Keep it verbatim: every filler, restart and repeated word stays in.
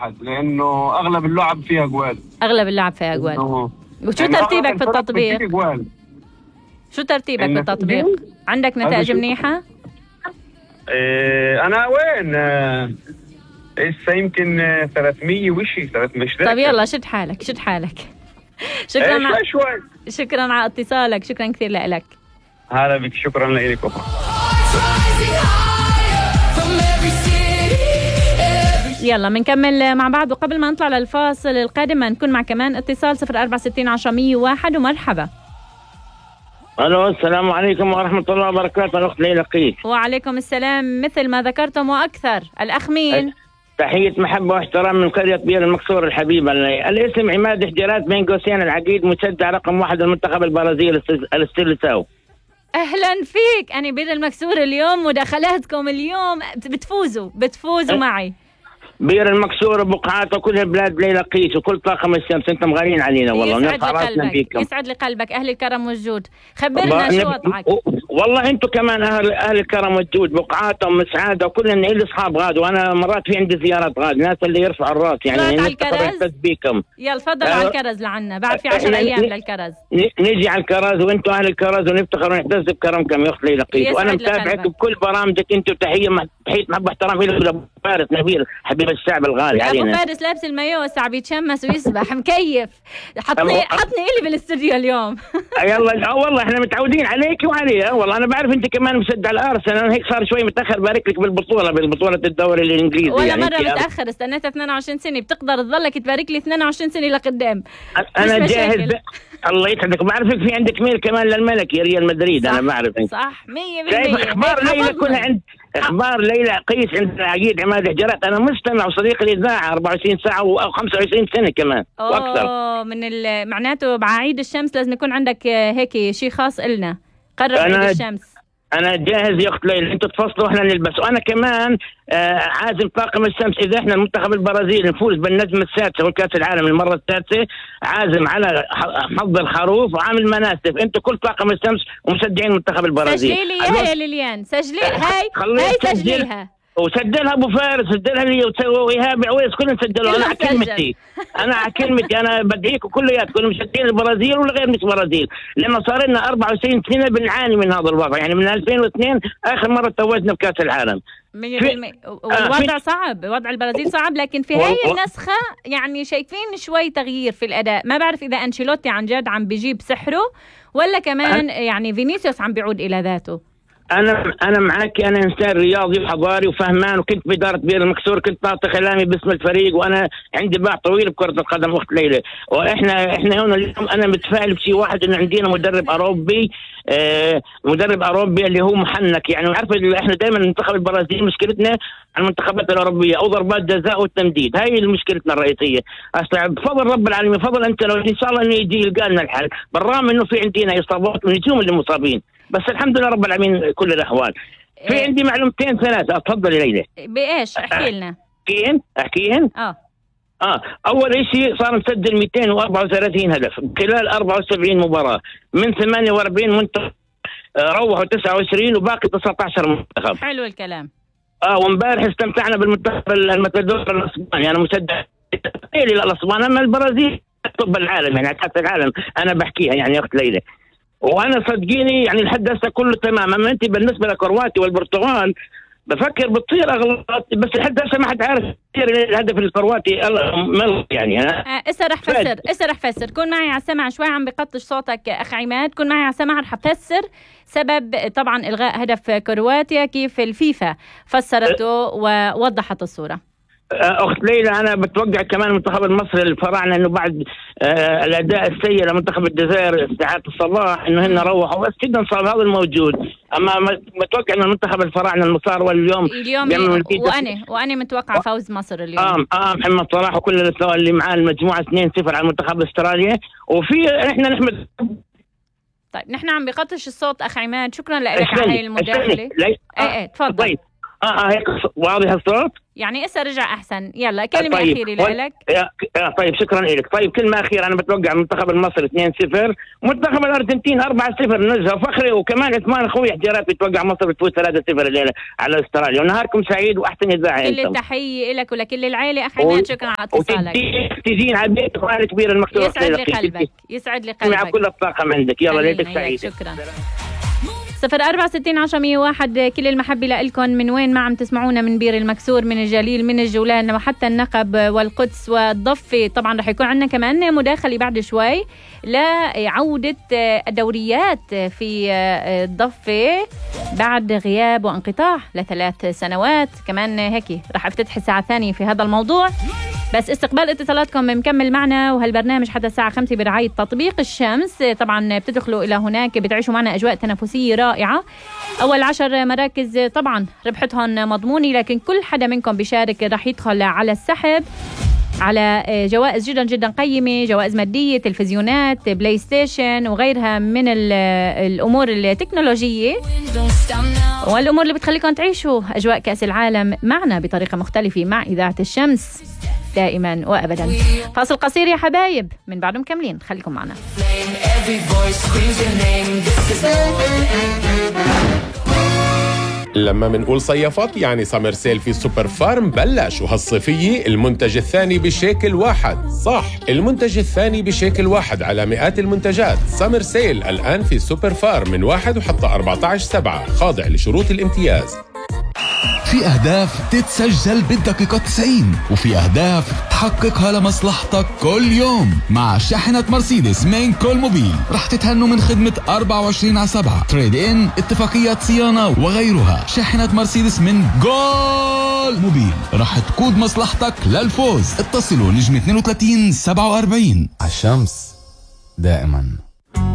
لانه اغلب اللعب فيها جوال. اغلب اللعب فيها جوال. وشو يعني ترتيبك في التطبيق؟ شو ترتيبك بالتطبيق؟ عندك نتائج منيحة؟ إيه انا وين هسه يمكن ثلاثمية وشي ثلاثمية. طيب يلا شد حالك شد حالك. شكرا إيه شوي شوي. شكرا على اتصالك، شكرا كثير لك. هلا بك، شكرا لك. يلا بنكمل مع بعض، وقبل ما نطلع للفاصل القادم نكون مع كمان اتصال صفر أربعة ستين عشرة مية وواحد. ومرحبا. الو السلام عليكم ورحمة الله وبركاته. الأخت ليلى قيس. وعليكم السلام مثل ما ذكرتم وأكثر. الأخ مين؟ تحية محبة واحترام من قرية بير المكسور الحبيبة. الاسم عماد حجرات بين قوسين العقيد، مشجع رقم واحد المنتخب البرازيلي الاستيلساو. أهلا فيك. أنا بير المكسور اليوم مداخلاتكم اليوم بتفوزوا بتفوزوا أه؟ معي. بير المكسور وبقعاته كلها بلاد ليلى قيس وكل طاقم الشمس. انتم مغالين علينا والله. يسعد لي قلبك يسعد لي قلبك. اهل الكرم والجود، خبرنا شو وضعك. والله انتم كمان اهل اهل الكرم والجود، بقعاتهم مسعاده وكلهم لي اصحاب غاد، وانا مرات في عندي زيارات غاد، ناس اللي يرفعوا الراس يعني نحتفظ بيكم. يلا تفضلوا على الكرز لعنا، بعد في عشر ايام للكرز. نجي على الكرز وانتم اهل الكرز ونفتخر ونعتز بكرمكم يا اخت ليلى قيس، وانا متابعك بكل برامجك انتم. تحيه تحيه محبه واحترام الى ابو فارس نبيل حبيب الشعب الغالي علينا. ابو فارس لابس المايو والساعه بيتشمس ويسبح مكيف. حطني حطني الي بالاستوديو اليوم. يلا والله احنا متعودين عليك وعليها والله. انا بعرف انت كمان مشجع الارسنال، انا هيك صار شوي متاخر. بارك لك بالبطوله بالبطوله الدوري الانجليزي. ولا يعني مره متاخر، استنيت اثنين وعشرين سنه، بتقدر تضلك تبارك لي اثنين وعشرين سنه لقدام. انا جاهز. الله يسعدك. بعرفك في عندك ميل كمان للملك يا ريال مدريد. انا بعرفك صح مية بالمية. اخبار ليلى كلها عند اخبار ليلى قيس عند عقيد عماد حجرات. انا مستمع وصديق الاذاعه أربعة وعشرين ساعه او خمسة وعشرين سنه كمان واكثر. اوه من معناته بعيد الشمس لازم يكون عندك هيك شيء خاص إلنا. قرب عيد الشمس. انا جاهز يا اخت ليلى، انتوا تفصلوا واحنا نلبس. وانا كمان آه عازم طاقم الشمس اذا احنا المنتخب البرازيلي نفوز بالنجمه السادسه والكاس العالم المره السادسه، عازم على حظ الخروف وعامل مناسف. انتوا كل طاقم الشمس ومشجعين المنتخب البرازيلي. سجلي لي اياها يا ليليان، سجلي هاي هاي سجليها وسجلها ابو فارس، سجلها لي وايهاب عويس، كلهم سجلوا. انا على كلمتي انا على كلمتي انا بدعيكم كلياتكم مشجعين البرازيل ولا غير مش برازيل، لانه صار لنا أربعة وعشرين سنه بنعاني من هذا الوضع. يعني من ألفين واثنين اخر مره توجنا بكاس العالم. مية بالمية. والوضع صعب، وضع البرازيل صعب، لكن في هاي النسخه يعني شايفين شوي تغيير في الاداء. ما بعرف اذا أنشيلوتي عن جد عم بيجيب سحره ولا كمان يعني فينيسيوس عم بيعود الى ذاته. انا انا معك. انا انسان رياضي وحضاري وفهمان، وكنت باداره بير المكسور، كنت بعطي كلامي باسم الفريق، وانا عندي باع طويل بكره القدم اخت ليلى. واحنا احنا هنا اليوم انا متفائل بشيء واحد، انه عندنا مدرب اوروبي آه مدرب اوروبي اللي هو محنك. يعني عارف احنا دائما المنتخب البرازيلي مشكلتنا على المنتخبات الاوروبيه او ضربات جزاء والتمديد، هاي مشكلتنا الرئيسيه. اصلا بفضل رب العالمين، فضل انت لو ان شاء الله انه يجي يلقى لنا الحل، بالرغم انه في عندنا اصابات ونجوم اللي مصابين، بس الحمد لله رب العالمين كل الاحوال. في إيه؟ عندي معلومتين ثلاثه. اتفضل يا ليلى. بايش احكي لنا؟ احكيهن احكيهن اه اه اول شيء صار مسجل مئتين وأربعة وثلاثين هدف خلال أربعة وسبعين مباراه من ثمانية وأربعين منتخب، روحوا تسعة وعشرين وباقي تسعة عشر منتخب. حلو الكلام. اه وامبارح استمتعنا بالمنتخب المتدور الاسباني. انا مشجع للاسبان، اما البرازيل طب العالم يعني كاس العالم انا بحكيها يعني يا اخت ليلى. وانا صدقيني يعني لحد هسه كله تمام. اما انت بالنسبه لكرواتيا والبرتغال بفكر بتصير اغلاط، بس لحد هسه ما حد عارف الهدف الكرواتي يعني. اه اسا رح فسر اسا رح فسر كون معي على السمع شوي، عم بقطش صوتك اخ عماد. كون معي على السمع رح افسر سبب طبعا الغاء هدف كرواتيا، كيف الفيفا فسرته ووضحت الصوره. اخت ليلى انا بتوقع كمان المنتخب المصري الفراعنه انه بعد آه الاداء السيء لمنتخب الجزائر استعاده الصباح انه هن روحوا، بس جدا صار هذا الموجود. اما متوقع ان المنتخب الفراعنه المصار واليوم اليوم وانا وانا متوقع فوز مصر اليوم. اه اه محمد صلاح وكل اللي معاه المجموعه اثنين صفر على المنتخب الاسترالي. وفي احنا نحمد. طيب نحن عم بقطش الصوت اخ عماد، شكرا لك على هاي المداخله. ايه ايه تفضل. طيب اه اه هيك واضح الصوت؟ يعني اسا رجع احسن. يلا كلمه طيب. اخيره لك. آه طيب شكرا لك. طيب كلمه اخيره، انا بتوقع المنتخب المصري اثنين صفر، منتخب الارجنتين أربعة صفر، نزهه فخري، وكمان عثمان اخوي احتياطي بتوقع مصر بتفوز ثلاثة صفر الليله على استراليا. ونهاركم سعيد واحسن اذاعه. كل التحيه لك ولكل العائله. اخ عماد شكرا على اتصالك. تجين على البيت اخوانك كبير المكتوب. يسعد لي قلبك، يسعد لي قلبك. مع كل الطاقم عندك. يلا ليلتك سعيده. شكرا. صفر أربعة ستين عشرة مية واحد. كل المحبة لإلكم. من وين ما عم تسمعونا؟ من بير المكسور، من الجليل، من الجولان، وحتى النقب والقدس والضفة. طبعا رح يكون عندنا كمان مداخلة بعد شوي لعودة الدوريات في الضفة بعد غياب وانقطاع لثلاث سنوات. كمان هيك رح افتتح الساعة الثانية في هذا الموضوع. بس استقبال اتصالاتكم مكمل معنا، وهالبرنامج حتى الساعة خمسة برعاية تطبيق الشمس. طبعا بتدخلوا إلى هناك بتعيشوا معنا أجواء تنافسية رائعة. أول عشر مراكز طبعا ربحتهم مضمونة، لكن كل حدا منكم بيشارك رح يدخل على السحب على جوائز جدا جدا قيمة، جوائز مادية، تلفزيونات، بلاي ستيشن وغيرها من الأمور التكنولوجية والأمور اللي بتخليكم تعيشوا أجواء كأس العالم معنا بطريقة مختلفة مع إذاعة الشمس دائما وأبدا. فاصل قصير يا حبايب، من بعده مكملين، خليكم معنا. لما منقول صيفات يعني سمر سيل في سوبر فارم بلش، وهالصيفية المنتج الثاني بشكل واحد. صح، المنتج الثاني بشكل واحد على مئات المنتجات. سمر سيل الآن في سوبر فارم من واحد وحتى أربعة عشر سبعة، خاضع لشروط الامتياز. في أهداف تتسجل بالدقيقة تسعين، وفي أهداف تحققها لمصلحتك كل يوم. مع شاحنة مرسيدس من كول موبيل رح تتهنوا من خدمة أربعة وعشرين على سبعة، تريد إن، اتفاقيات صيانة وغيرها. شاحنة مرسيدس من كول موبيل رح تقود مصلحتك للفوز. اتصلوا نجم اثنين وثلاثين سبعة وأربعين. عالشمس دائما.